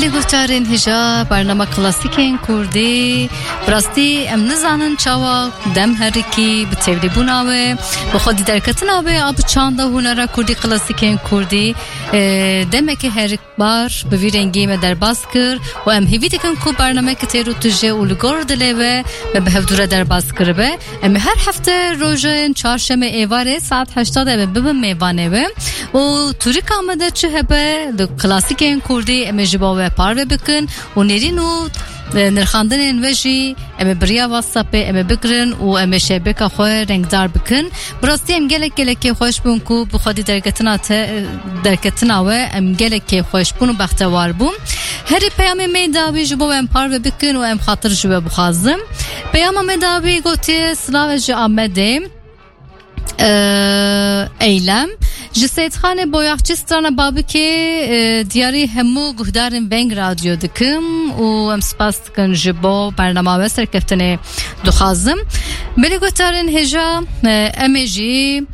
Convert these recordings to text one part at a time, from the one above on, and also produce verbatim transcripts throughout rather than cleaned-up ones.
Lê guhdarên hêja, bernama klasîkên kurdî, bi rastî em nizanin çawa dem herikî bi tevlîbûna we, bi xwedî derketina we a bi çanda hunera kurdî, klasîkên kurdî, e, demeke herikbar bi vî rengî me derbas kir û em hêvî dikin ku bernameke têr û tije û li gor dilê we me bi hevdû re derbas kiribe. Em ê her hefte rojên çarşemê êvarê saet heşta de em ê bibin mêvanê we. Û tûrika me de çi hebe, li klasîkên kurdî em ê ji bo we parve bikin û nêrîn û, e, nirxandinên we jî em ê bi riya WhatsAppê em ê bigirin û em ê şevbêka xwe rengdar bikin. Bi rastî em gelek gelek kêfxweş bûn ku bi xwedî derketina te, derketina we em gelek kêfxweş bûn û bextewar bûn. Herî peyamê me dawî ji bo em parve bikin û em xatir ji we bixwazim. Peyama me dawî gotiye, Silav, ez ji Amedê. Ee, Eylem. Ji Seyîdxanê Boyaxçî strana Babikê, e, diyarî hemû guhdarên Veng Radyo dikim û em spas dikin ji bo bernama we serkeftinê dixwazim. Belê guhdarên hêja, e, em ê jî,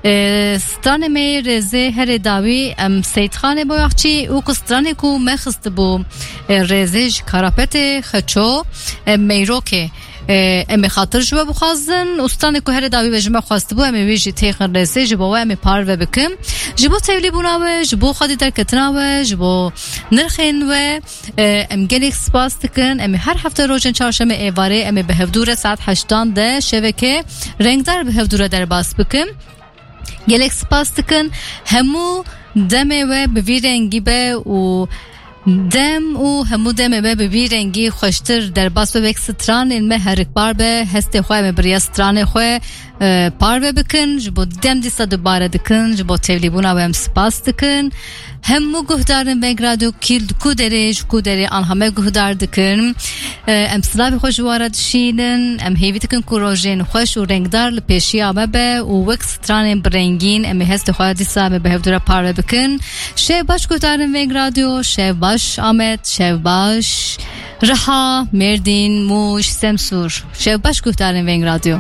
e, stranê me yê rêzê herê dawî em Seyîdxanê Boyaxçî û ku stranê ku me xistibû, e, rêzê ji Karapetê Xeço, e, Meyrokê. E, em ê xatir ji we bixwazin. Û stranê ku herê dawî we ji me xwestibû, em ê wî jî têxin rêzê, ji bo we em ê parve bikin. Ji bo tevlîbûna we, ji bo xwedî derketina we, ji bo nirxên we, e, em gelek spas dikin. Em ê her hefte rojên çarşemê êvarê em ê bi hevdû re saet heştan de şeveke rengdar bi hevdû re derbas bikin. Gelek spas dikin. Hemû demê we bi vî rengî be û dem û hemû demê we bi vî rengî xweştir derbas be, wek stranên me herikbar be. Hestê xwe em ê bi riya stranê xwe, e, parve bikin. Ji bo dem dîsa dubare dikin. Ji bo tevlîbûna we em spas dikin. Hemû guhdarên Veng Radyo kî li ku derê, ji ku derê anha me guhdar dikin. E, em silavê xwe ji wan re dişînin. Em hêvî dikin ku rojên xweş û rengdar li pêşiya me be û wek stranên bi rengîn em ê hestê xwe dîsa me bi hevdû re parve bikin. Şev baş guhdarên Veng Radyo, şev baş Amed, şev baş Riha, Mêrdîn, Mûş, Semsûr. Şev baş guhdarên Veng Radyo.